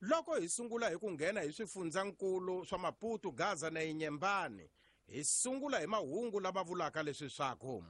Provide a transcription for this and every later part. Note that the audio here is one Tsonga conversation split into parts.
Loko hi sungula hi ku nghena hi swifundzankulu swa Maputo, Gaza na Inhambane, hi sungula hi mahungu lama vulaka leswi swaku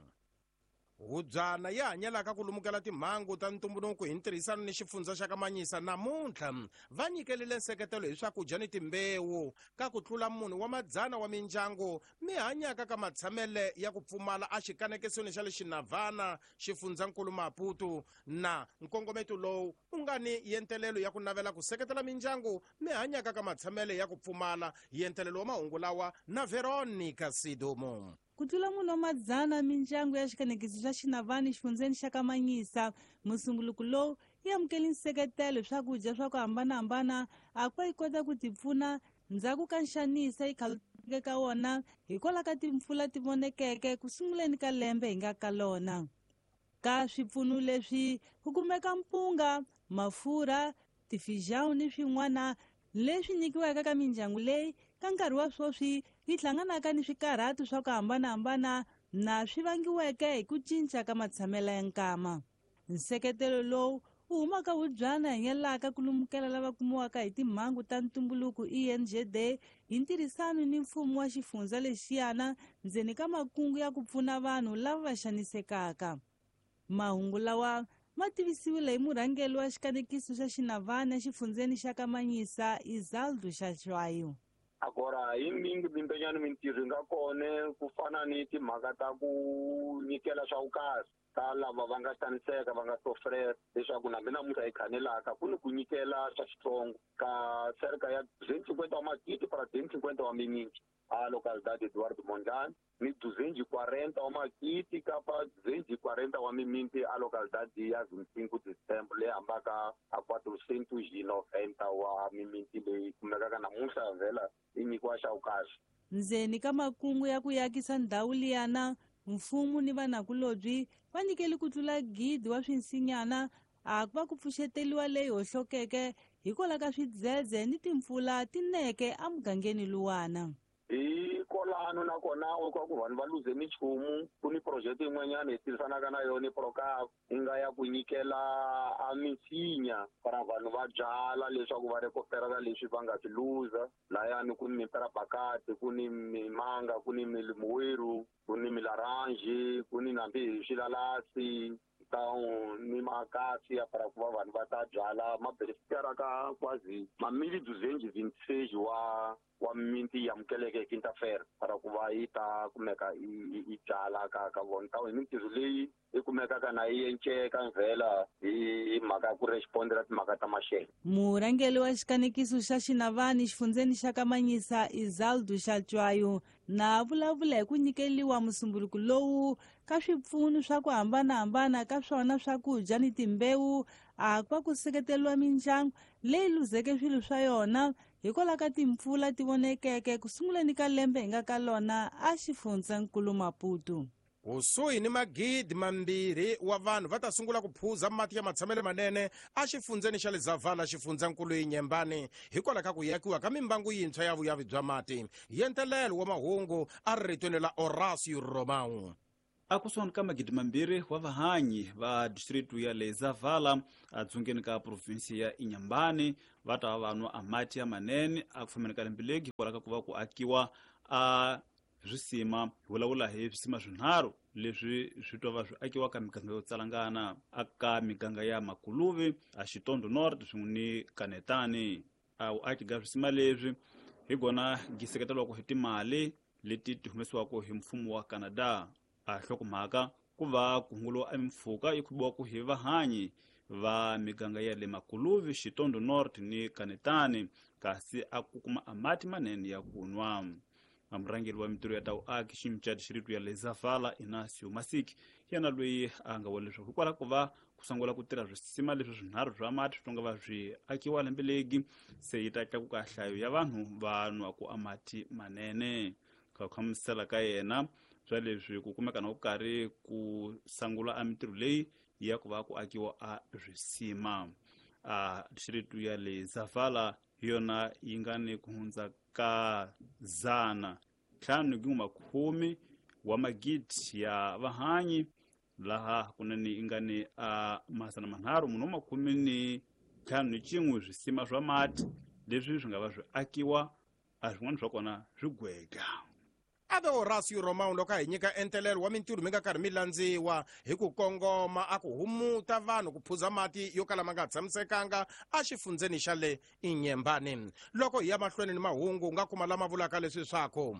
hubyana yi hanyelaka ku lumukela timhangu ta ntumbuluko hi ntirhisano ni xifundza xa Kamanyisa namuntlha va nyikelile nseketelo hi swakudya ni timbewu ka ku tlula munhu wa madzana wa mindyangu mi hanyaka ka matshamele ya ku pfumala a xikanekisweni xa le Xinavana, xifundzankulu Maputo. Na nkongometo lowu u nga ni yentelelo ya ku navela ku seketela mindyangu mi hanyaka ka matshamele ya ku pfumala. Yentelelo wa mahungu lawa na Veronica Sidumo. Ku tlula munhu wa madzana mindyangu ya xikanekiso xa Xinavani xifundzeni xa Kamanyisa, musumbuluko lowu yi amukele nseketelo hi swakudya swa ku hambanahambana a ku va yi kota ku tipfuna ndzhaku ka nxanisa yi khaluteke ka wona hikwalaho ka timpfula ti vonekeke ku sunguleni ka lembe hi nga ka lona. Ka swipfuno leswi ku kumeka mpunga, mafurha, tifijão ni swin'wana leswi nyikiweke ka mindyangu leyi ka nkarhi wa sweswi yi hlanganaka ni swikarhato swa ku hambanahambana na swi vangiweke hi ku cinca ka matshamelo ya nkama. Nseketelo lowu wu humaka hubyana hanyelaka ku lumukela lava kumiwaka hi timhangu ta ntumbuluko ENGD hi ntirhisano ni mfumo wa xifundza lexiyana ndzeni ka makungu ya ku pfuna vanhu lava va xanisekaka. Mahungu lawa ma tivisiwile hi murhangeri wa xikanekiso xa Xinavana exifundzeni xa Kamanyisa, Isaldo Xaxwayo. Agora hi mingi mimpenyani mintirho yi nga kona ku fana ni timhaka ta ku nyikela swa vukarhi ka lava va nga xaniseka va nga sofrera, leswaku na mina namuntlha hi khanelaka ku ni ku nyikela swa xitsongo ka cerca ya 250 wa magidi para 250 wa miminti a localidade Eduardo Mondlane, ni 240 wa magidi kapa 240 wa miminti a localidade ya 25 de Setembro leyi hambaka a 490 wa miminti leyi kumekaka namuntlha vhela yi nyikiwa xa vukahle. Ndzeni ka makungu ya ku yakisa ndhawu liyana, mfumo ni vanakulobyi va nyikele ku tlula 1,000 wa swinsinyana a ku va ku pfuxeteliwa leyi hohlokeke hikwalaho ka swidzedze ni timpfula ti neke emugangeni luwana. Hi kolano nakona u ka ku vanhu va luze minchumu, ku ni project yin'wanyana hi tirhisanaka na yona Procap yi nga ya ku nyikela a minsinya para vanhu va byala leswaku va recuperela leswi va nga swi luza. Layani ku ni miperabakati, ku ni mimanga, ku ni milimoeiro, ku ni milaranji, ku ni nambi hi swilalasi, então ni makasi ya para ku va vanhu va ta byala ma beneficiara ka quasi ma mil duzentos e vinte e seis wa minti yi amukeleke hi quinta-feira para ku va yi ta kumeka yi byala ka vona. Então hi mintirho leyi yi kumekaka na yi enceka mvhela hi mhaka ya ku respondela timhaka ta maxelo. Murhangeri wa xikanekiso xa Xinavani xifundzeni xa Kamanyisa, Isaldo Xatswayo, na vulavula hi ku nyikeliwa musumbuluko lowu ka swipfuno swa ku hambanahambana ka swona swakudya ni timbewu a ku va ku seketeriwa mindyangu leyi luzeke swilo swa yona hikwalaho ka timpfula ti vonekeke ku sunguleni ka lembe hi nga ka lona a xifundzankulu Maputo. Kusuhi ni magidi mambirhi wa vanhu va ta sungula ku phuza mati ya matshamelo manene a xifundzeni xa le Zavala, xifundzankulu Inhambane, hikwalaho ka ku yakiwa ka mimbangu yintshwa ya vuyavi bya mati. Yentelelo wa mahungu a ri ritweni la Horacio Romão. A kusuhani ka magidi mambirhi wa vahanyi va distritu ya le Zavala a dzongeni ka provinsi ya Inhambane va ta va va nwa a mati ya manene a ku fambeni ka lembe legi hikwalaho ka ku va ku akiwa a swisima. Hi vulavula hi swisima swinharhu leswi swi twa va swi akiwa ka miganga yo tsalangana aka miganga ya Makuluvi, a Xitondo North swin'we ni Kanetani. A vuaki bya swisima leswi hi gona byi seketeriwaka hi timali leti ti humesiwaka hi mfumo wa Canada. A nhlokomhaka ku va ku hunguliwa emimpfhuka yi khubiwaka hi vahanyi va miganga ya le Makuluvi, Xitondo North ni Kanetani, kasi a ku kuma a mati manene ya ku nwa. A murhangeri wa mintirho ya ta vuaki ximca dixiritu ya le Zavala, Inácio Masiki, yena loyi a nga vula leswaku hikwalaho ko va ku sungula ku tirha swisima leswi swinharhu swa mati swi nga va swi akiwa lembe legi, se yi ta tlakuka nhlayo ya vanhu va nwaku a mati manene. Ka ku hlamusela ka yena swa leswi ku kumeka na ku karhi ku sangula a mintirho leyi ya ku va ku akiwa a swisima. A dixiritu ya le Zavala hi yona yi nga ni ku hundza ka zana ntlhanu ni makume wa magidi ya vahanyi, laha kunene yi nga ni a masana manharhu munhu wa makume ni 51 swisima swa mati leswi swi nga va swi akiwa a swin'wana swa kona swi gwega. Ave Horacio Romão loko a hi nyika entelelo wa mintirho mi nga karhi mi landziwa hi ku kongoma a ku humuta vanhu ku phuza mati yo kala ma nga tshamisekanga exifundzeni xa le Inyembani. Loko hi ya mahlweni ni mahungu u nga kuma lama vulaka leswi swaku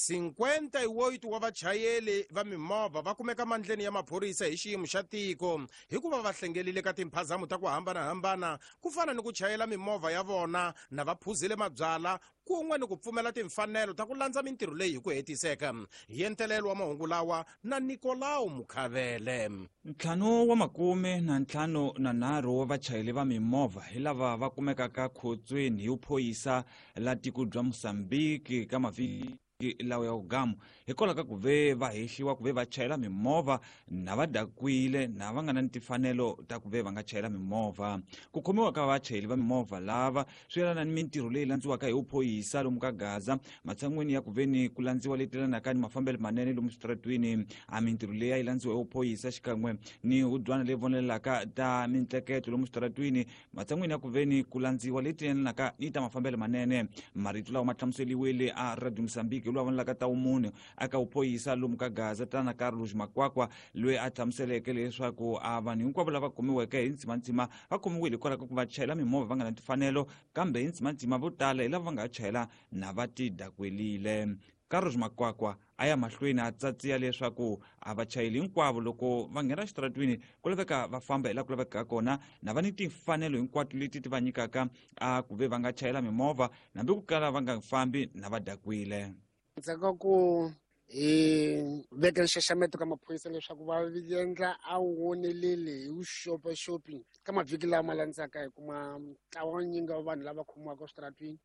58 wa vachayeli va mimovha va kumeka mandleni ya maphorisa hi xiyimo xa tiko hikuva va hlengelile ka timphazamo ta ku hambanahambana ku fana ni ku chayela mimovha ya vona na va phuzile mabyala kun'we ni ku pfumela timfanelo ta ku landza mintirho leyi hi ku hetiseka. Hi entelelo wa mahungu lawa na Nikolao Mukhavele. 553 wa vachayeli va mimovha hi lava va kumekaka khotsweni hi vuphorisa la tiko bya Mozambique ka mavhiki lawa ya ugamu hikwalaho ka ku ve va hehliwa ku ve va chayela mimovha na va dakwile na va nga na ni timfanelo ta ku ve va nga chayela mimovha. Ku khomiwa ka vachayeli va mimovha lava swi yelana ni mintirho leyi landziwaka hi vuphorisa lomu ka Gaza matshan'wini ya ku ve ni ku landziwa leti yelanaka ni mafambelo manene lomu switaratwini. A mintirho leyi a yi landziwa hi vuphorisa xikan'we ni hubyana leyi vonelelaka ta mintleketo lomu switaratwini matshan'wini ya ku ve ni ku landziwa leti yelanaka ni ta mafambelo manene. Marito lawa ma hlamuseliwile a Radio Mozambique loyi a vonelaka ta vumunhu aka vuphorisa lomu ka Gaza tana Carlos Makwakwa loyi a hlamuseleke leswaku a vanhu hinkwavo lava khomiweke hi ntsimantsima va khomiwile hikwalaho ka ku va chayela mimovha va nga na timfanelo, kambe hi ntsimantsima vo tala hi lava va nga chayela na va ti dakwelile. Carlos Makwakwa a ya mahlweni a tsatsiya leswaku a vachayeli hinkwavo loko va nghena xitaratwini ku laveka va famba hi laha ku lavekaka kona na va ni timfanelo hinkwato leti ti va nyikaka a ku ve va nga chayela mimovha hambi ku kala va nga fambi na va dakwile. Ndzhaku ka ku hi veka nxaxameto ka maphorisa leswaku va endla a woneleli hi vuxopaxopi ka mavhiki lama landzaka hi kuma ntlawa wa nyingi wa vanhu lava khomiwaka eswitaratwini.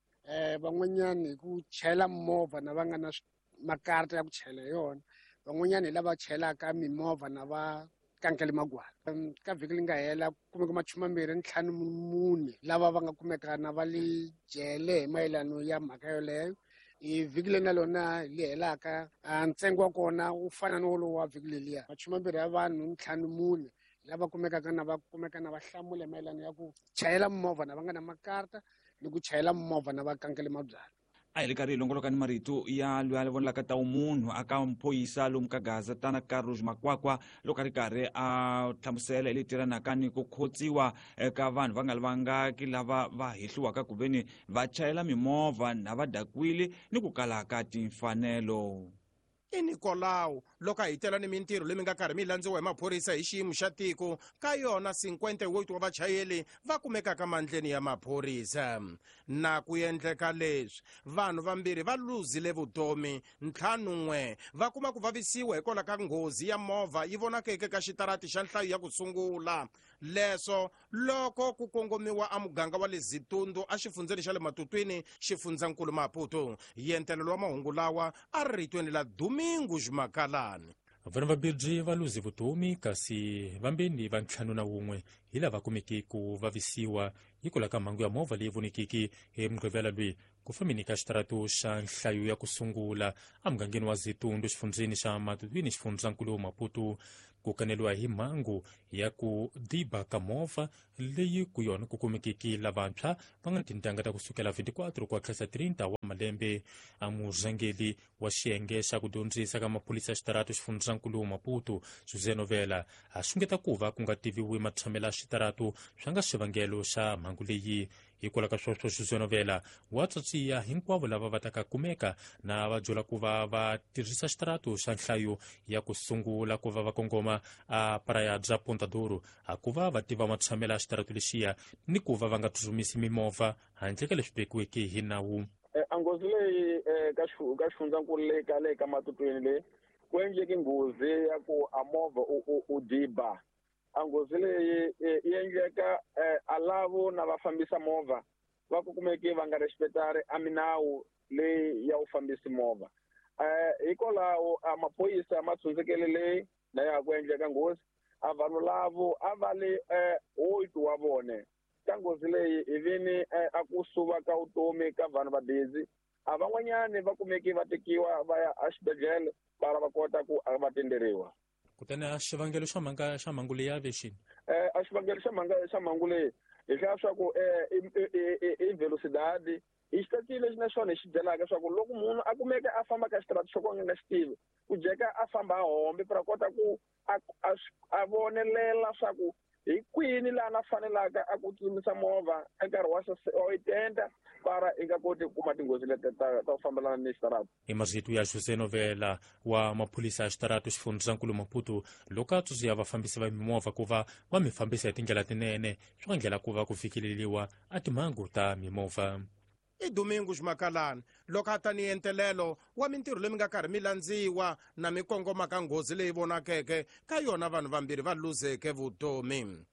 Van'wanyani hi ku chayela movha na va nga na makarata ya ku chayela hi yona, van'wanyani hi lava chayelaka mimovha na va kankele magwala. Ka vhiki leri nga hela ku kumeka 24 lava va nga kumeka na va le jele hi mayelano ya mhaka yoleyo. Hi vhiki leri na lona li helaka, ntsengo wa kona wu fana ni wolowo wa vhiki leliya, 20 ya vanhu 54 lava kumekaka na va kumeka na va hlamula hi mayelano ya ku chayela movha na va nga na makarata ni ku chayela movha na va kankele mabyalwa. A hi ri karhi hi longoloka ni marito ya loyi a vonelaka ta vumunhu aka mphoyisa lomu ka Gaza tana Carlos Makwakwa loko a ri karhi a hlamusela hi leti yelanaka ni ku khotsiwa eka vanhu va nga lavangaki lava va hehliwaka ku ve ni va chayela mimovha na va dakwile ni ku kala ka timfanelo. I Nikolao loko a hitela ni mintirho leyi mi nga karhi mi landziwa hi maphorisa hi xiyimo xa tiko ka yona 58 wa vachayeli va kumekaka mandleni ya maphorisa. Na ku endleka leswi vanhu vambirhi va luzile vutomi, 51 va kuma ku vavisiwa hikwalaho ka nghozi ya movha yi vonakeke ka xitarati xa nhlayo ya ku sungula. Leswo loko ku kongomiwa a muganga wa le Zitundu exifundzeni xa le Matutwini xifundzankulu Maputo. Yentelelo wa mahungu lawa a ri ritweni la Domingo Makalani. Vanhu vambirhi va luze vutomi kasi vambirhi va 51 hi lava kumeke ku vavisiwa hikwalaho ka mhangu ya movha leyi vonekeke hi Mugqivela loyi ku fambeni ka xitaratu xa nhlayo ya ku sungula emugangeni wa Zitundu xifundzeni xa Matutwini xifundzankulu Maputo. Ku kaneliwa hi mhangu ya ku diba ka movha leyi ku yona ku kumekeke lavantshwa va nga tintangha ta kusukela 24 ku tlhela 30 wa malembe. A murhangeri wa xiyenge xa ku dyondzisa ka maphorisa ya xitaratu xifundzankulu Maputo José Novela a xungeta ku va ku nga tiviwi matshamelo ya xitaratu swa nga xivangelo xa mhangu leyi. Hikwalaho ka sweswo José Novela wa tsatsiya hinkwavo lava va taka kumeka na va byela ku va va tirhisa xitaratu xa nhlayo ya ku sungula ku va va kongoma a Praia bya Ponta Douro a ku va va tiva matshamelo ya xitaratu lexiya ni ku va va nga tsutsumisi mimovha handle ka leswi vekiweke hi nawu. A nghozi leyi ka xifundzankulu leyi ka le ka Matutwini leyi ku endleke nghozi ya ku a movha u diba. A nghozi leyi yi endleka a lavo na va fambisa movha va ku kumeke va nga respectari a minawu leyi ya u fambisi movha. Hikwalaho a maphorisa ma tshundzekele leyi na ya ku endleka nghozi a vanhu lavo a va le 8 wa vone. Ka nghozi leyi hi vini a ku suva ka vutomi ka vanhu va busy a van'wanyani va kumeke va tekiwa va ya exibedhlele va va kota ku va tenderiwa. Kutani a xivangelo xa mhanga xa mhangu leyi a ve xini? A xivangelo xa mhanga xa mhangu leyi Hi hlaya swa ku i velocidade i xitaci lexi naxona hi xi byelaka swa ku loko munhu a kumeka a famba ka xitarata xo ka nga xi tivi ku jeka a famba a hombe pra kota ku a vonelela swa ku hi kwini laha na fanelaka a ku tsutsumisa movha nkarhi wa 80 para i nga koti ku kuma tinghozi leti ta ku fambelana ni xitarata. I marito ya José Novela wa maphorisa ya xitarata xifundzankulu Maputo loko a tsundzuxa vafambisi va mimovha ku va va mi fambisa hi tindlela tinene swi nga ndlela ku va ku fikeleriwa a timhangu ta mimovha. I Domingo Ximakalani loko a ta ni entelelo wa mintirho leyi mi nga karhi mi landziwa na mi kongoma ka nghozi leyi vonakeke ka yona vanhu vambirhi va luzeke vutomi.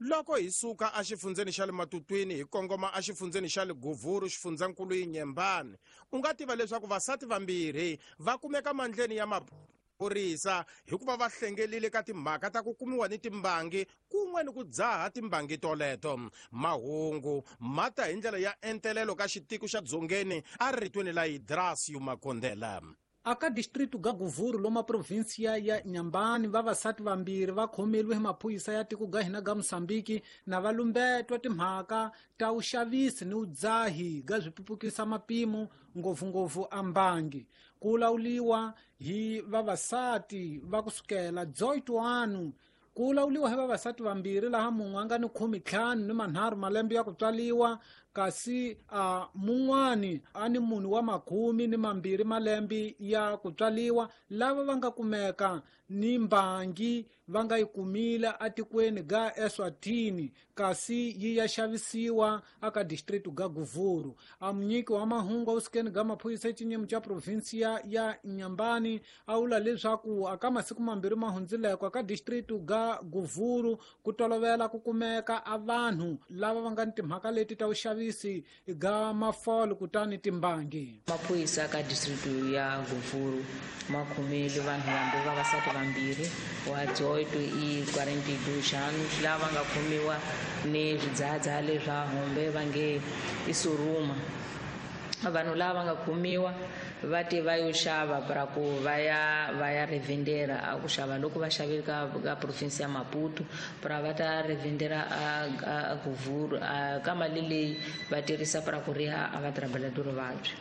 Loko hi suka exifundzeni xa le Matutwini hi kongoma exifundzeni xa le Govuru xifundzankulu Inyembani, u nga tiva leswaku vasati vambirhi va kumeka mandleni ya maphorisa hikuva va hlengelile ka timhaka ta ku kumiwa ni timbangi kun'we ni ku dzaha timbangi toleto. Mahungu ma ta hi ndlela ya entelelo ka xitiko xa Dzongeni a ritweni la Idrasio Makondela. Aka distrito ga Govuru loma provinsia ya Nyambani vavasati vambirhi va khomeliwe hi maphorisa ya tiko ga hina ga Mozambique na va lumbetwa timhaka ta vuxavisi ni vudzahi ga swipupukisa mapimo ngopfungopfu a mbangi. Ku lawuliwa hi vavasati va kusukela 18 ku lawuliwa hi vavasati vambirhi laha mun'we a nga ni 15 ni 3 malembe ya ku tswaliwa kasi a mun'wani a ni munhu wa 12 malembe ya ku tswaliwa lava va nga kumeka ni mbangi va nga yi kumile atikweni ga Eswatini kasi yi ya xavisiwa aka distrito ga Govuru. A munyiki wa mahungu awusikeni ga maphorisa exinyemu xa provinsia ya Nyambani a vula leswaku aka masiku mambirhi ma hundzileko aka distrito ga Govuru ku tolovela ku kumeka a vanhu lava va nga ni timhaka leti ta vuxavisi ga mafolo kutani timbangi. Maphorisa ka distrito ya Govuru ma khomile vanhu vambirhi vavasati vambirhi wa 18 i 42 anos lava nga khomiwa ni swidzahadzahha leswa hombe va nge i suruma. Vanhu lava nga khomiwa va te va yo xava pra ku va ya revendera a ku xava loko va xavile ka province ya Maputo pra va ta revendera a Govuru ka mali leyi va tirhisa pra ku riha a va trabalhador vabyi.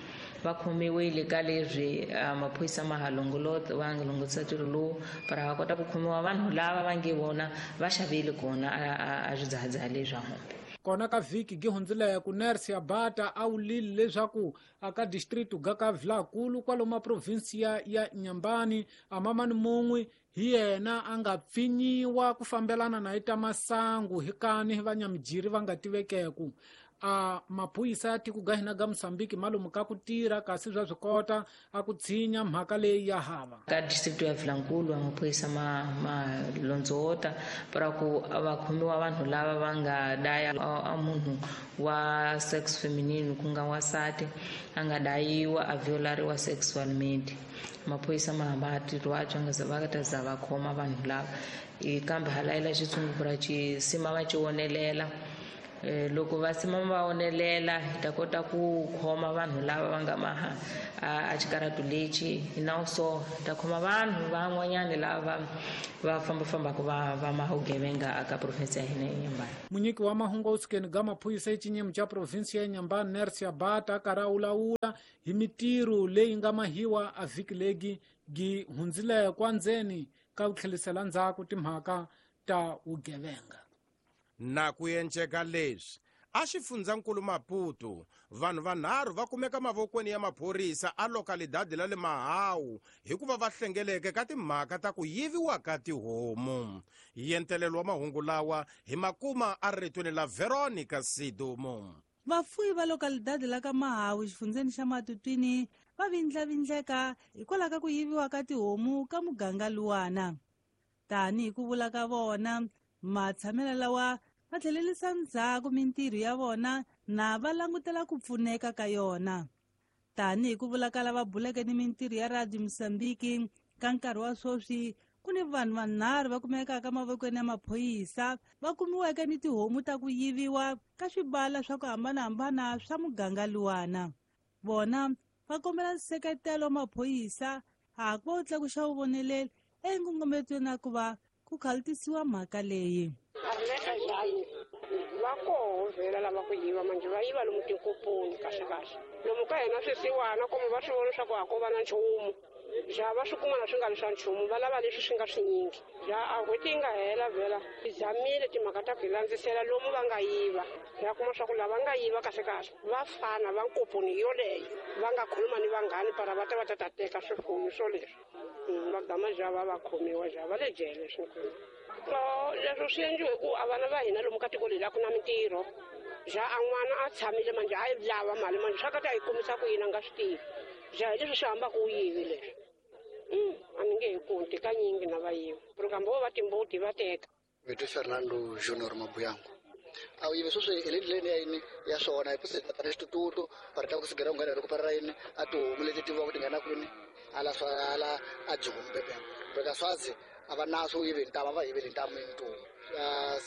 Va khomiwile ka leswi maphorisa ma ha longolota va nga longolotisa ntirho lowu pra va kota ku khomiwa vanhu lava va nge vona va xavile kona a swidzahadzahha leswa hombe. Kona ka vhiki gi hundzileko nurse ya Bata a wulile leswaku aka distrito ga ka Vilakulu kwalomu provinsia ya Nyambani a mamani mun'we hi yena a nga pfinyiwa ku fambelana na ita masangu hi kani hi vanyamijiri va nga tivekeku. A maphorisa ya tiko ga hina ga Mozambique malumu ka ku tirha kasi swa swi kota a ku tshinya mhaka leyi ya hava. Ka distrito ya Vilankulu maphorisa ma londzota para ku va khomiwa vanhu lava va nga daya a munhu wa sex feminine ku nga wansati a nga dayiwa a violariwa sexualmente. Maphorisa ma hamba tirho wa nga za va ta za va khoma vanhu lava kambe halayela xitshungu xi sima va xi wonelela. Loko va sima va wonelela hi ta kota ku khoma vanhu lava va nga maha a xikaratu lexi na so hi ta khoma vanhu van'wanyana lava va fambafambaka va maha vugevenga aka province ya hina ya Nyambani. Munyiki wa mahungu awusikeni ga maphorisa exinyemu xa province ya Nyambani nurse ya Bata a karhi a wulawula hi mitirho leyi nga mahiwa a vhiki legi gi hundzileko endzeni ka ku tlhelisela ndzhaku timhaka ta vugevenga. Na ku enceka leswi a xifundzankulu Maputo vanhu vanharhu va kumeka mavokweni ya maphorisa a lokalidadi la le Mahawu hikuva va hlengeleke ka timhaka ta ku yiviwa ka tihomu. Yentelelo wa mahungu lawa hi makuma a ritweni la Veronica Sidumo. Vafuyi va lokalidadi la ka Mahawu xifundzeni xa Matutwini va vindlavindleka hikwalaho ka ku yiviwa ka tihomu ka muganga luwana. Tanihi ku vula ka vona matshamelo lawa va tlhelerisa ndzhaku mintirho ya vona na va langutela ku pfuneka ka yona. Tanihi ku vula ka lava buleke ni mintirho ya Radio Mozambique ka nkarhi wa sweswi ku ni vanhu vanharhu va kumekaka mavokweni ya maphorisa va kumiweke ni tihomu ta ku yiviwa ka swibala swa ku hambanahambana swa muganga luwana. Vona va kombela nseketelo wa maphorisa a ku va wu tlakuxa vuvoneleli enkongometweni ya ku va ku khalutisiwa mhaka leyi. Va vhela lava ku yiva manjhe va yiva lomu tinkoponi kahle kahle lomu ka hina swisiwana kumbe va swi vona leswaku a ko va na nchumu ja va swi kuma na swi nga vi swa nchumu va lava leswi swi nga swinyingi ja a n'hweti yi nga hela vhela hi zamile timhaka ta ku hi landzisela lomu va nga yiva ya kuma swa ku lava nga yiva kahle kahle va fana va nkoponi yoleyo va nga khuluma ni vanghani para va ta va ta ta teka swifuyo swo leswi va gama ja va va khomiwa ja va le jele swi leswo swi endliwe ku a vana va hina lomu ka tiko leri a ku na mintirho ja a n'wana a tshamile manjhe a yi lava mali manjhe swa ka ta yi kumisa ku yini a nga swi tivi ja hi leswi swi hambaka u yivi leswi a ni nge hi kunti kanyingi na va yiva kambe vo va timbuti va teka. Vito Fernando Junior Mabuyango. A wu yivi sweswi hi le ndleleni ya yini ya swona hi ku tana xitututu va ri ta ku sigera ku nghena loko parara yini a tihomu leti tiviwaka ti nghena kwini ala swa ala a joni bebe beka swazi a va naso u yivi ntamu a va yiveli ntamu yini tihomu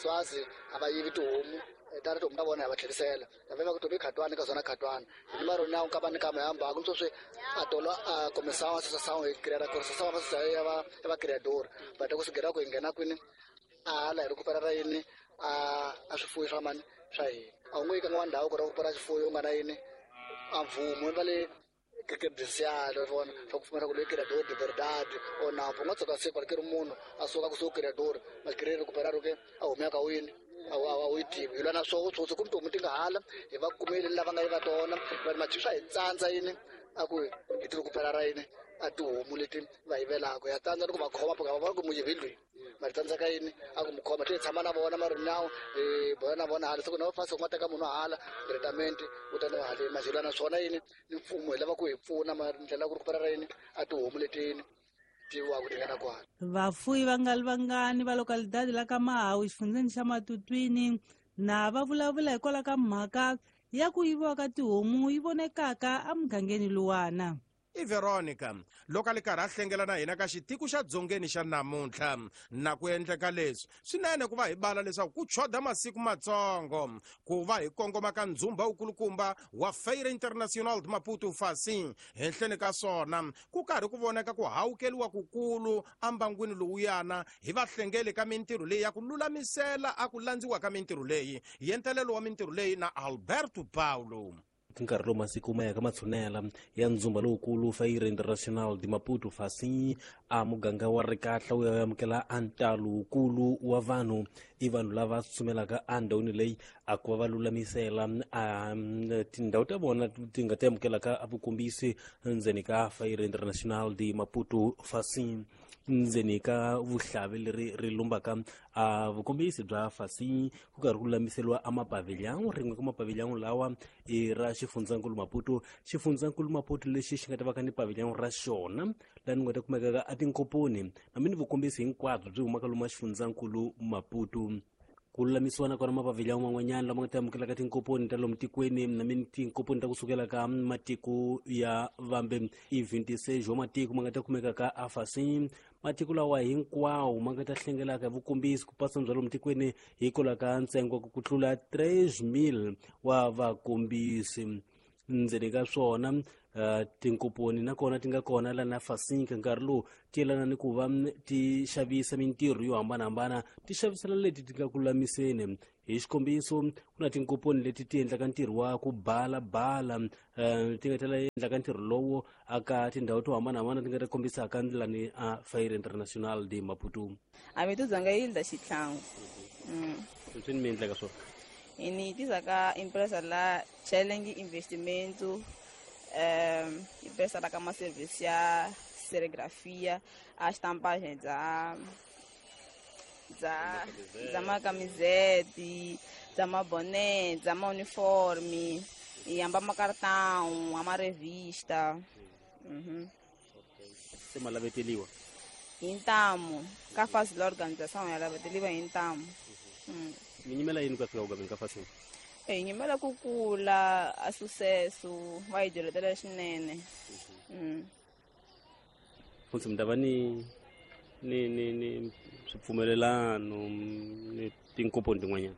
swazi a va yivi tihomu tana tihomu ta vona hi va tlherisela va va ku tobi khatwani ka zona khatwani hi maro na ka va ni kama hamba ku sweswi a tolo a comissão associação e criar a associação ya va ya va criador va ta ku sigera ku hi nghena kwini a la hi recuperar yini a swifuwo swa mani swa hina a wu nge yi ka n'wana ndhawu ku recupera xifuwo u nga na yini a mvumo va le credencial vona swa ku pfumela ku loyi criador de verdade o na u nga tshuka siku ri munhu a suka kusuhi criador ma kiri recuperar ke a humeka wini a wu yi tivi hi lwa na swoho swotsi ku tihomu ti nga hala hi va kumeli lava nga yiva tona va machi swa hi tsandza yini a ku hi ti recuperar yini a tihomu leti va yivelaka ya tsandza ni ku va khoma va va ku muyivi loyi ma tsandzeka yini a ku mu khoma ti tshama na vona marinawu hi bola na vona hala siku na va fasi ku nga teka munhu hala testament u ta no hale majelo na swona yini ni mfumo hi lava ku hi pfuna ma ndlela ku recuperar yini a tihomu letini tiviwaka ti nga na kwala. Vafuyi va nga li vangani va localidade la ka Mahawu xifundzeni xa Matutwini na va vulavula hikwalaho ka mhaka ya ku yiviwa ka tihomu yi vonekaka emugangeni luwana. I Veronica loko a li karhi a hlengela na hina ka xitiko xa dzongeni xa namuntlha na ku endleka leswi swinene ku va hi bala leswaku ku choda masiku matsongo ku va hi kongoma ka ndzumba wukulukumba wa Feira Internacional de Maputo Facim henhleni ka swona ku karhi ku voneka ku hawukeliwa kukulu ambangwini lowuyana hi vahlengeli ka mintirho leyi ya ku lulamisela a ku landziwa ka mintirho leyi yentelelo wa mintirho leyi na Alberto Paulo. Nkarhi lowu masiku ma yaka matshunela ya ndzumba lowukulu Feira Internacional de Maputo Facim a muganga wa Rikahla wu ya amukela a ntalo wukulu wa vanhu i vanhu lava tsutsumelaka endhawini leyi a ku va va lulamisela a tindhawu ta vona ti nga ti amukelaka a vukombisi ndzeni ka Feira Internacional de Maputo Facim ndzeni ka vuhlavi leri ri lumbaka a vukombisi bya Facim ku karhi ku lulamiseriwa a mapavilhão rin'we ka mapavilhão lawa i ra xifundzankulu Maputo xifundzankulu Maputo lexi xi nga ta va ka ni pavilhão ra xona laha ni nga ta kumekaka a tinkoponi hambi ni vukombisi hinkwabyo byi humaka lomu xifundzankulu Maputo ku lulamisiwa na kona mapavilhão man'wanyana lama nga ta amukelaka tinkoponi ta lomu tikweni na mini tinkoponi ta kusukela ka matiko ya vambe i 26 wa matiko ma nga ta kumeka ka Facim matiko lawa hinkwawo ma nga ta hlengelaka hi vukombisi ku pasa bya lomu tikweni hikwalaho ka ntsengo ku tlula 3000 wa vakombisi ndzeni ka swona tinkoponi nakona ti nga kona la na Facim ka nkarhi lowu ti yelana ni ku va ti xavisa mintirho yo hambanahambana ti xavisela leti ti nga ku lulamiseni hi xikombiso ku na tinkoponi leti ti endlaka ntirho wa ku balabala ti nga tela endlaka ntirho lowo aka tindhawu to hambanahambana ti nga ta kombisaka ndlela ni a Feira Internacional de Maputo. A mi tuzanga yi endla xitlhangu. Swi ni mi endlaka swona ni tisa ka empresa la Challenge Investimento empresa la ka ma service ya serigrafia a estampagem dza dza macamisete dza maboné dza mauniforme e amba macartão a marevista. Se malaveteliwa hi ntamu ka fasi la organização ya laveteliwa hi ntamu. Mi nyimela yini ku ya fika ku gameni ka Facim? Hi nyimela ku kula a sucesso va hi dyoletela swinene. Futhi mi ta va ni ni ni ni swipfumelelano ni tinkoponi tin'wanyana?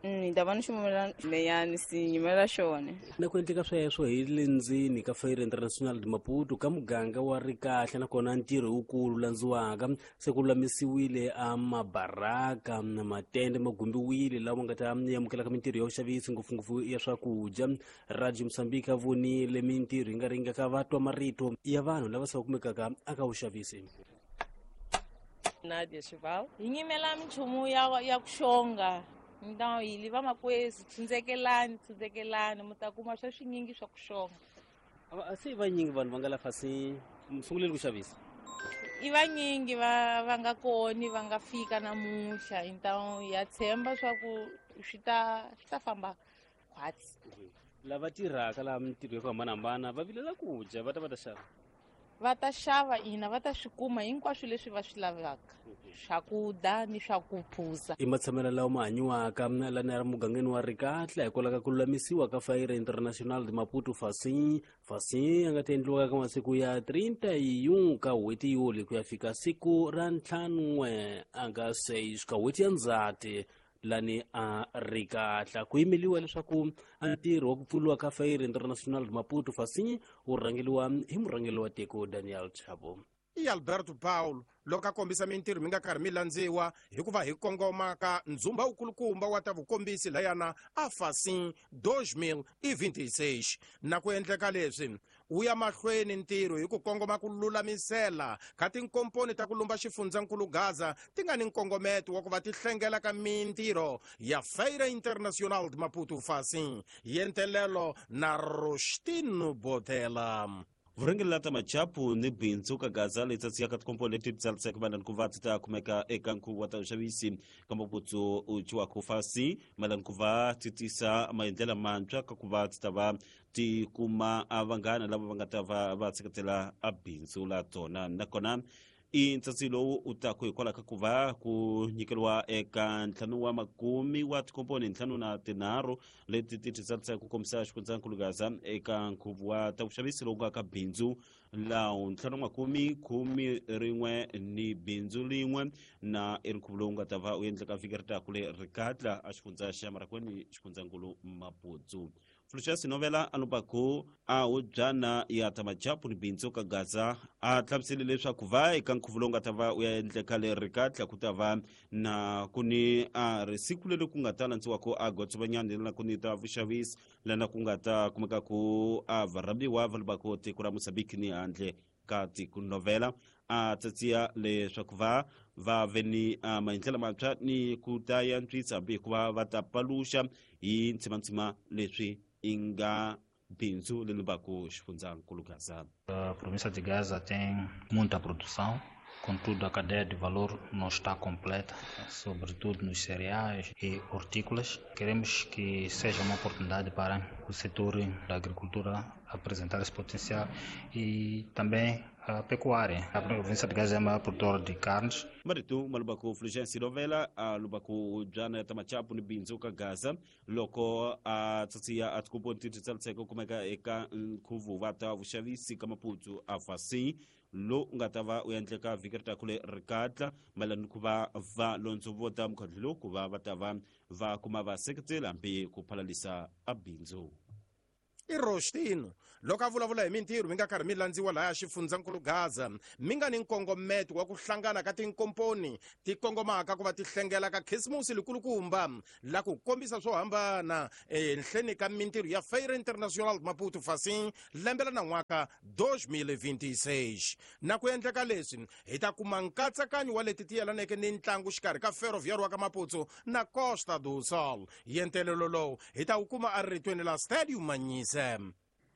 Ni ta va ni xumela leyani si nyimela xona. Na ku endleka sweswo hi le ndzeni ka Feira Internacional de Maputo ka muganga wa Rikahle, nakona ntirho wukulu landziwaka se ku lulamisiwile a mabaraka na matende ma gumbiwile lawa nga ta amukelaka mintirho ya vuxavisi ngopfungopfu ya swakudya. Radio Mozambique a vonile mintirho yi nga ringaka va twa marito ya vanhu lava se va kumekaka aka vuxavisi. Nadia Chival hi nyimela minchumu ya ku xonga ndhawu yi li vamakwezi tshundzekelani mi ta kuma swa swinyingi swa ku xonga. Se vanyingi vanhu va nga la fasi sunguleni ku xavisa i vanyingi va nga koni va nga fika namuntlha, então ya tshemba swa ku swi ta famba khwatsi. Lava tirhaka laha mintirho ya ku hambanahambana va vilela ku dya, va ta xava. Va ta xava ina, va ta swi kuma hinkwaswo leswi va swi lavaka, swakudya ni swa ku phuza. I matshamelo lawa ma hanyiwaka lani ya mugangeni wa Rikatla hikwalaho ka ku lulamisiwa ka Feira Internacional de Maputo Facim ya nga ta endliwaka ka masiku ya 31 ka n'hweti Yuli ku ya fika siku ra 5 aka 6 ka n'hweti ya Ndzhati lani a Rikatla. Ku yimeliwa leswaku ntirho wa ku pfuriwa ka Feira Internacional de Maputo Facim wu rhangeliwa hi murhangeri wa tiko Daniel Chapo. I Alberto Paulo loko a kombisa mintirho mi nga karhi mi landziwa hikuva hi kongoma ka ndzumba wukulukumba wa ta vukombisi layana a Facim 2026. Na ku endleka leswi wu ya mahlweni ntirho hi ku kongoma ku lulamisela ka tinkomponi ta ku lumba xifundzankulu Gaza ti nga ni nkongometo wa ku va ti hlengela ka mintirho ya Feira Internacional de Maputo Facim yentelelo na Rostino Botela. Vurhangeri la ta machapu ni bindzu ka Gaza leyi tsatsiyaka tikomponi leti tsariseke mayelana ku va ti ta kumeka eka nkhuvo wa ta vuxavisi ka Maputo u ciwaka fasi mayelana ku va ti tisa maendlela mantshwa ka ku va ti ta va ti kuma vanghana lava va nga ta va va seketela a bindzu la tona. Nakona i ntsatsi lowu u taku hikwalaho ka ku va ku nyikeriwa eka 50 wa tikomponi 53 leti ti tsarisaka ku kombisa xifundzankulu Gaza eka nkhuvo wa ta vuxavisi lowu nga ka bindzu lawu 51 ni bindzu lin'we na i nkhuvo lowu nga ta va u endleka vhiki ri taku le Rikatla a xifundza xa Marakweni xifundzankulu Maputo. Fluxas Novela alubaku a hubyana ya ta machapu ni bindzu ka Gaza a hlamusele leswaku va eka nkhuvo lowu nga ta va u ya endleka le Rikatla ku ta va na ku ni a risiku leri ku nga ta landziwaka a gotsovanyana lana ku ni ta vuxavisi lana ku nga ta kumeka ku a varhambiwa va lubaku tiko ra Mozambique ni handle ka tiko. Novela a tsatsiya leswaku va ve ni maendlelo mantshwa ni ku ta yantswisa hambi hikuva va ta paluxa hi ntsimantsima leswi i nga bindzu leri lubaku xifundzankulu Gaza. A província de Gaza tem muita produção, contudo a cadeia de valor não está completa, sobretudo nos cereais e hortícolas. Queremos que seja uma oportunidade para o setor da agricultura apresentar esse potencial e também a pecuária. A província de Gaza é a maior produtora de carnes. Marito malubaku Fulgence Novela a lubaku jana ta machapu ni bindzu ka Gaza loko a tsatsiya a tikomponi ti tsariseke kumeka eka nkhuvo wa ta vuxavisi ka Maputo a Facim lo nga ta va u endleka vhiki ri taku le Rikatla mayelana ku va va londzovota mukhandlu lowu ku va va ta va va kuma vaseketeli hambi ku phalalisa a bindzu. I Rostino loko a vulavula hi mintirho mi nga karhi mi landziwa lahaya xifundzankulu Gaza mi nga ni nkongometo wa ku hlangana ka tinkomponi ti kongomaka ku va ti hlengela ka Khisimusi likulukumba la ku kombisa swo hambana enhleni ka mintirho ya Feira Internacional Maputo Facim lembe la nan'waka 2026. Na ku endleka leswi hi ta kuma nkatsakanyo wa leti ti yelaneke ni ntlangu xikarhi ka Ferroviário wa ka Maputo na Costa do Sol. Yentelelo lowu hi ta wu kuma eritweni la Stadium Manyise.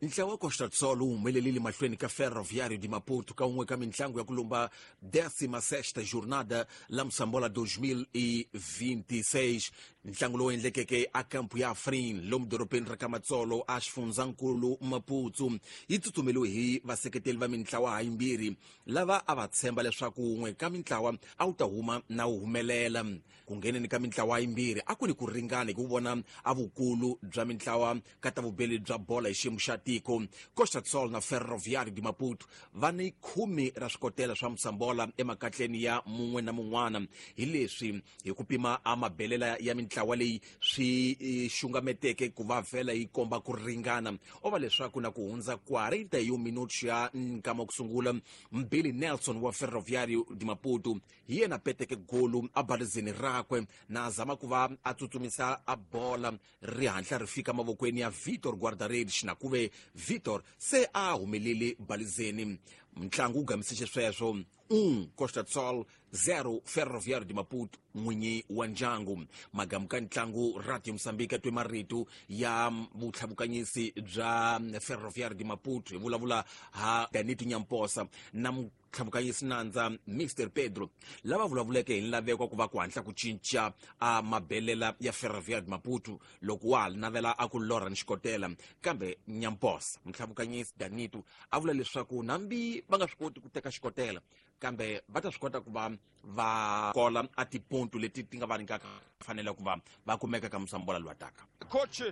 Ntlawa wa Costa do Sol wu humelelile mahlweni ka Ferroviário de Maputo ka un'we ka mintlangu ya ku lumba 16ª jornada la Moçambola 2026. Ntlangu lowu endlekeke a kampu ya Afrin lomu dorobeni ra ka Matsolo a xifundzankulu Maputo yi tsutsumeliwe hi vaseketeli va mintlawa hayimbirhi lava a va tshemba leswaku wun'we ka mintlawa a wu ta huma na wu humelela. Ku ngheneni ka mintlawa yimbirhi a ku ni ku ringana hi ku vona a vukulu bya mintlawa ka ta vubeli bya bola hi xiyimo xa tiko. Costa do Sol na Ferroviário de Maputo va ni 10 ra swikotela swa musambola emakatleni ya mun'we na mun'wana. Hi leswi hi ku pima a mabelela ya mintlawa leyi swi xungameteke ku va vhela yi komba ku ringana. O va leswaku na ku hundza 41 minutos ya nkama ku sungula, Mbili Nelson wa Ferroviário de Maputo hi yena peteke golu a balizeni rakwe na zama ku va a tsutsumisa a bola ri hatla ri fika mavokweni ya Vitor Guarda-redes, na ku ve Vitor se a humelele balizeni. Ntlangu wu gamise xisweswo 1 Costa do Sol 0 Ferroviário de Maputo n'winyi wa ndyangu. Magamu ka ntlangu Radio Mozambique twe marito ya vutlhavukanyisi bya Ferroviário de Maputo hi vulavula ha Danito Nyamposa na tlhavukanyisi nandza Mr Pedro, lava vulavuleke hi nlaveko ku va ku hatla ku cinca a mabelela ya Ferroviário de Maputo loko wa ha navela a ku lorha ni xikotela. Kambe Nyamposa mutlhavukanyisi Danito a vula leswaku nambi va nga swi koti ku teka xikotela, kambe va ta swi kota ku va va kola a tiponto leti ti nga va nyikaka fanele ku va va kumeka ka musambola lowu taka. Coach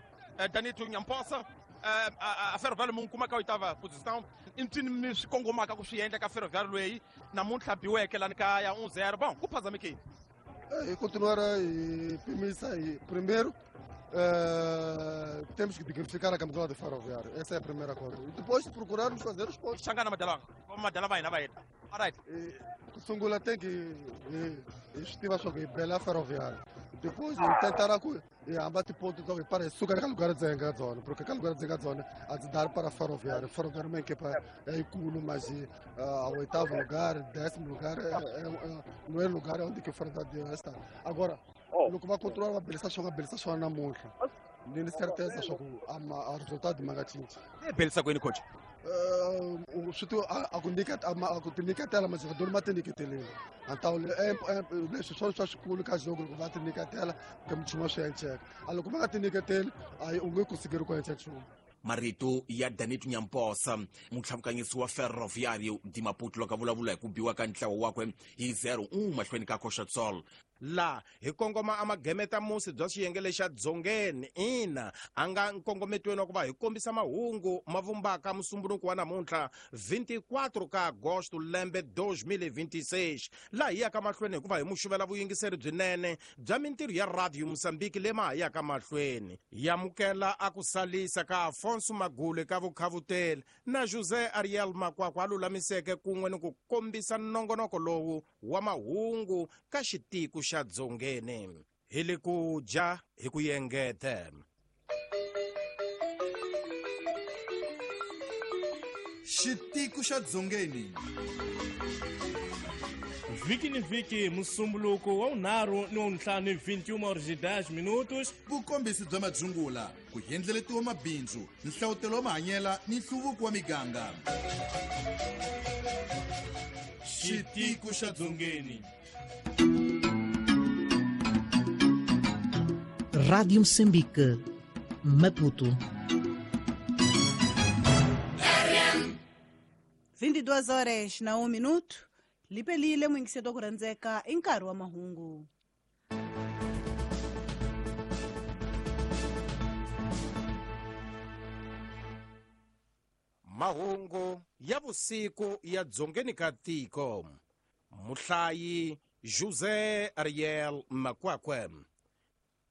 Danito Nyamposa, a Ferroviário mu kuma ka oitava posição i mpfini mi swi kongomaka ku swi endla ka Ferroviário loyi namuntlha biweke lani ka ya 1-0. Bom, ku phazamekile. E continuar a pimisa e primeiro temos que dignificar a camisola de Ferroviário. Essa é a primeira coisa. E depois procurarmos fazer os pontos. Xangana madalanga. Madala vai na vai. Alright. Sungula tem que estiva só que bela Ferroviário. Depois tentar e abate ponto então para sugar aquele lugar de zona, porque aquele lugar de zona a dar para Ferroviário. Ferroviário uma equipa é culo, mas ao oitavo lugar, 10º lugar, não é lugar onde que o Ferroviário está. Agora, loko va controla va belisa swona, belisa swona namuntlha. Ni ni certeza swa ku a resultado ma nga cinci. Belisa kwini coach? Swi ti a ku nyika a ku tinyiketela majogador ma tinyiketelile. Antao leswi swona swa xikulu ka jogo loko va tinyiketela ka minchumu swi enceka. A loko va nga tinyiketeli a u nge kusikeri ku enca nchumu. Marito ya Danito Nyamposa, mutlhavukanyisi wa Ferroviário de Maputo, loko a vulavula hi ku biwa ka ntlawa wakwe hi 0-1 mahlweni ka Costa do Sol. La hi kongoma a magemeta musi bya xiyenge lexa dzongeni ina a nga nkongometweni wa ku va hi kombisa mahungu ma vumbaka musumbuluko wa namuntlha 24 ka agosto lembe 2026, laha hi yaka mahlweni hikuva hi muxuvela vuyingiseri byinene bya mintirho ya Radio Mozambique leyi ma ha yaka mahlweni. Yamukela a ku salisa ka Afonso Magule ka vukhavuteli na José Ariel Makwakwa a lulamiseke kun'we ni ku kombisa nongonoko lowu wa mahungu ka xitiko xa dzongeni. Hi le ku dya hi ku yengete. Xitiko xa dzongeni. Vhiki ni vhiki musumbuluko wa 5 ni wa 5 21h10. Vukombisi bya madzungula, ku endleletiwa mabindzu, nhlawutelo wa mahanyela ni nhluvuko wa miganga. Xitiko xa dzongeni. Rádio Moçambique, Maputo. 22 horas na 1 minuto. Lipelile mwingiseto ku rhandzeka i nkarhi wa mahungu. Mahungu ya vusiku ya dzongeni ka tiko. Muhlayi José Ariel Makwakwe.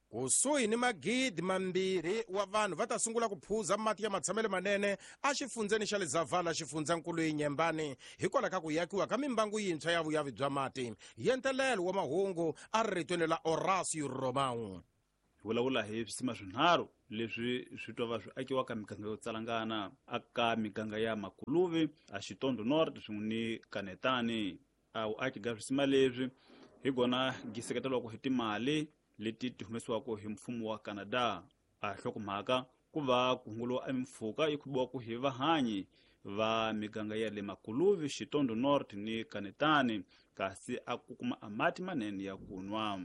Kusuhi ni magidi 2 wa vanhu va ta sungula ku phuza mati ya matshamelo manene a xifundzeni xa Lezavala, xifundzankulu Inyembani, hikwalaho ka ku yakiwa ka mimbangu yintshwa ya vuyavi bya mati. Yentelelo wa mahungu a ri ritweni la Horacio Romão. Hi vulavula hi swisima swinharhu leswi swi twa va swi akiwa ka miganga yo tsalangana aka miganga ya Makuluvi, a Xitondo North swin'we ni Kanetani. A vuaki bya swisima leswi hi gona gi seketeriwaka hi timali leti ti humesiwaka hi mfumo wa Canada. A hlokomhaka ku va ku hunguliwa emimpfhuka yi khubiwaka hi vahanyi va miganga ya le Makuluvi, Xitondo North ni Kanetani, kasi a ku kuma a mati manene ya ku nwa.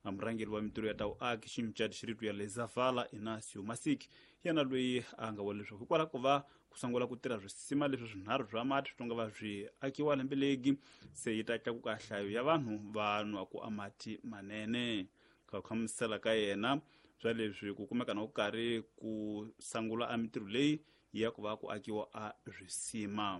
Murhangeri wa mintirho ya ta vuaki ximicati xiritu ya Lezavala Inacio Masik yena loyi a nga vula leswaku hikwalaho ko va ku sungula ku tirha swisima leswi swinharhu swa mati swi tonga va swi akiwa lembe legi, se yi ta tlakuka nhlayo ya vanhu va nwaka a mati manene. Ka ku hlamusela ka yena Swa leswi ku kumeka na ku karhi ku sangula a mintirho leyi ya ku va ku akiwa a swisima.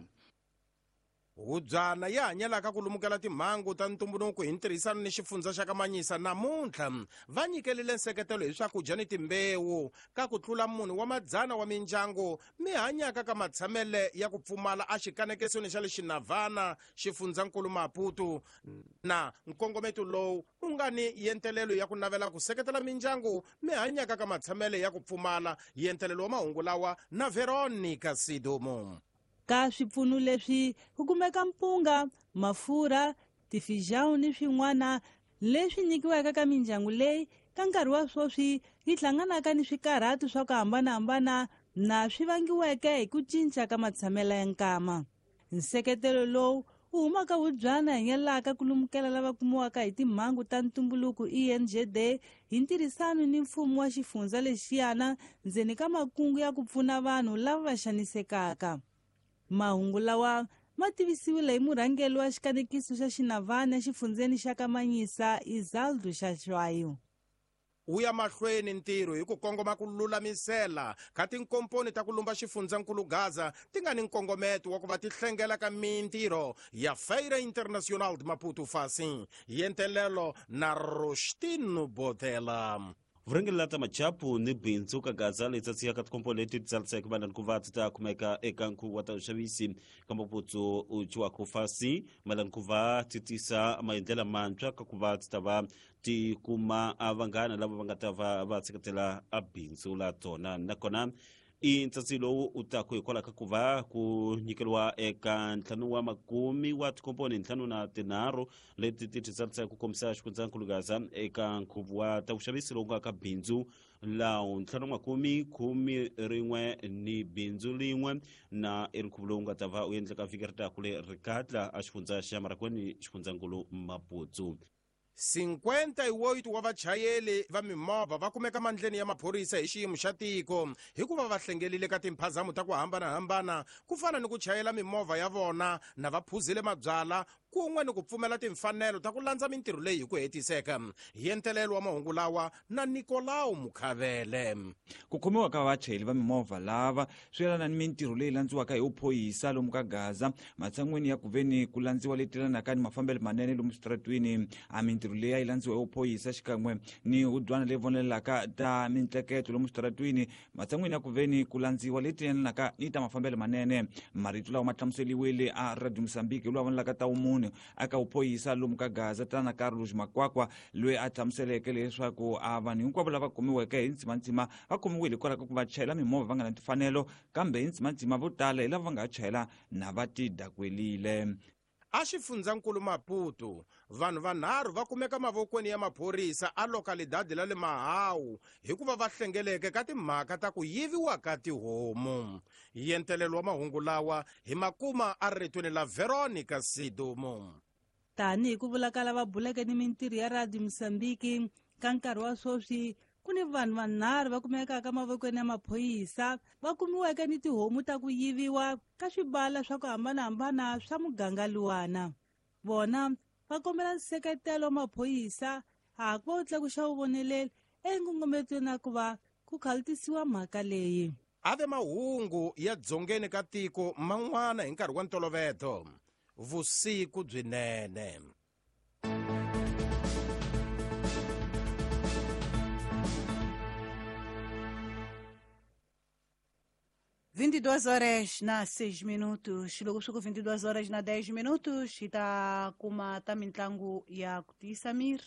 Hubyana ya hanyelaka ku lumukela timhangu ta ntumbuluko hi ntirhisano ni xifundza xa Kamanyisa namuntlha va nyikelile nseketelo hi swakudya ni timbewu ka ku tlula munhu wa madzana wa mindyangu mi hanyaka ka matshamele ya ku pfumala a xikanekesweni xa le Xinavana, xifundzankulu Maputo. Na nkongometo lowu u nga ni yentelelo ya ku navela ku seketela mindyangu mi hanyaka ka matshamele ya ku pfumala. Yentelelo wa mahungu lawa na Veronica Sidumo. Ka swipfuno leswi ku kumeka mpunga, mafurha, tifijão ni swin'wana leswi nyikiwaka ka mindyangu leyi ka nkarhi wa sweswi yi hlanganaka ni swikarhato swa ku hambanahambana na swi vangiweke hi ku cinca ka matshamelo ya nkama. Nseketelo lowu wu humaka hubyana hanyelaka ku lumukela lava kumiwaka hi timhangu ta ntumbuluko ENGD hi ntirhisano ni mfumo wa xifundza lexiyana ndzeni ka makungu ya ku pfuna vanhu lava va xanisekaka. Mahungu lawa ma tivisiwile hi murhangeri wa xikanekiso xa Xinavana exifundzeni xa Kamanyisa, Isaldo Xaxwayo. Wu ya mahlweni ntirho hi ku kongoma ku lulamisela ka tinkomponi ta ku lumba xifundzankulu Gaza ti nga ni nkongometo wa ku va ti hlengela ka mintirho ya Feira Internacional de Maputo Facim, Yentelelo na Rostino Botela. Vurhangeri la ta machapu ni bindzu ka Gaza leyi tsatsiyaka tikomponi leti ti tsariseke mayelana ku va ti ta kumeka eka nkhuvo wa ta vuxavisi ka Maputo u ciwaka fasi mayelana ku va ti tisa maendlela mantshwa ka ku va ti ta va ti kuma a vanghana lava va nga ta va va seketela a bindzu la tona. Nakona i ntsatsi lowu u taku hikwalaho ka ku va ku nyikeriwa eka 5 wa makume wa tikomponi 53 leti ti titsarisaka ku kombisa xifundzankulu Gaza eka nkhuvo wa ta vuxavisi lowu nga ka bindzu lawo 5 makume 11 ni bindzu lin'we na i nkhuvo lowu nga ta va u endleka vhiki ri taku le Rikatla a xifundza xa Marakweni xifundzankulu Maputo. 58 wa vachayeri va mimovha va kumeka mandleni ya maphorisa hi xiyimo xa tiko hikuva va hlengelile ka timphazamo ta ku hambanahambana ku fana ni ku chayela mimovha ya vona na va phuzile mabyala kun'we ni ku pfumela timfanelo ta ku landza mintirho leyi hi ku hetiseka. Yentelelo wa mahungu lawa na Nicolau Mukhavele. Ku khomiwa ka vachayeri va mimovha lava swi yelana ni mintirho leyi landziwaka hi vuphorisa lomu ka Gaza matshan'weni ya ku veni ku landziwa leti yelanaka ni mafambelo manene lomu switaratwini. A mintirho leyi a yi landziwa hi vuphorisa xikan'we ni hubyana leyi vonelelaka ta mintleketo lomu switaratwini matshan'weni ya ku veni ku landziwa leti yelanaka ni ta mafambelo manene. Marito lawa ma hlamuseriwile a Radio Mozambique lowu vonelaka ta vumunhu aka vuphorisa lomu ka Gaza tana Carlos Makwakwa loyi a hlamuseleke leswaku a vanhu hinkwavo lava kumiweke hi ntsimantsima va kumiwile hikwalaho ka ku va chayela mimovha va nga na timfanelo kambe hi ntsimantsima vo tala hi lava va nga chayela na va tidakwelile. A xifundzankulu Maputo vanhu vanharhu va kumeka mavokweni ya maphorisa a lokalidadi la le Mahawu hikuva va hlengeleke ka timhaka ta ku yiviwa ka tihomu. Yentelelo wa mahungu lawa hi makuma a ritweni la Veronica Sidumo. Tanihi ku vula ka lava buleke ni mintirho ya Radio Mozambique ka nkarhi wa sweswi ku ni vanhu vanharhu va kumekaka mavokweni ya maphorisa va kumiweke ni tihomu ta ku yiviwa ka swibala swa ku hambanahambana swa muganga luwana. Vona va kombela nseketelo wa maphorisa ha ku va wu tlakuxa vuvoneleli enkongometweni ya ku va ku khalutisiwa mhaka leyi. Ave mahungu ya dzongeni ka tiko man'wana hi nkarhi wa ntoloveto. Vusiku byinene. 22 horas na 6 minutos. Loko swi ku 22 horas na 10 minutos hi ta kuma ta mitlangu ya ku tiyisa miri.